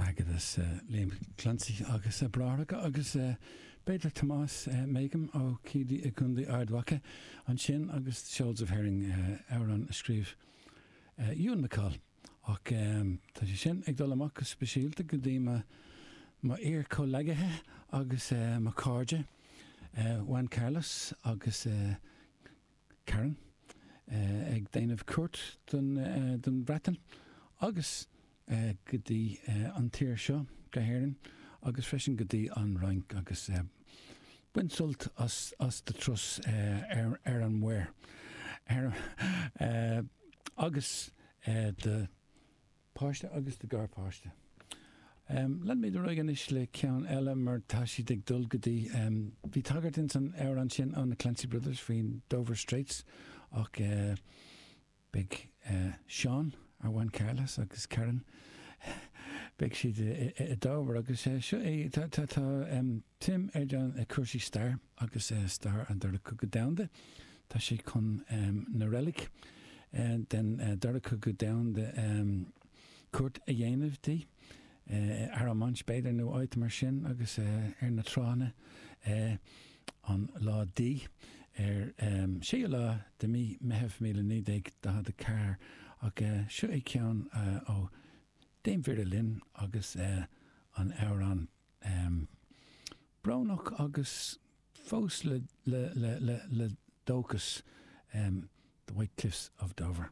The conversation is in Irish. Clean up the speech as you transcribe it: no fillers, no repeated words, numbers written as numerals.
Airgeadas Liam Clancy agus a bhráithreacha agus b'fhéidir Tomás Makem ó Keady i gContae Ard Mhacha ansin agus Shoals of Herring, amhrán a scríobh Ewan MacColl. Ach tá sé sin ag dul amach go speisialta go dtí mo iar-chomhleacaithe agus mo chairde, Juan Carlos agus Karen, ag déanamh cuairt don Bhreatain agus go dtí an tír seo, go hÉirinn, agus freisin go dtí an Fhrainc agus bain sult as do turas ar an muir agus do páiste agus do gharpháiste. Leanfaimid ar aghaidh anois le ceann eile mar tá siad ag dul go dtí, bhí tagairt ins an amhrán sin ó na Clancy Brothers faoin Dover Straits ach beidh Seán, ar Juan Carlos agus Karen, beidh siad i Dover agus seo é, tá suim ag John i cúrsaí stair agus stair an Dara Cogadh Domhanda. Tá sé chun na reilig den Dara Cogadh Domhanda cuairt a dhéanamh di, Arromanches b'fhéidir nó áit mar sin agus ar na tránna an lá D ar 6ú lá de mí Meitheamh 1944 ach seo é ceann ó Dame Vera Lynn agus an amhrán brónach agus fós le dóchas The White Cliffs of Dover.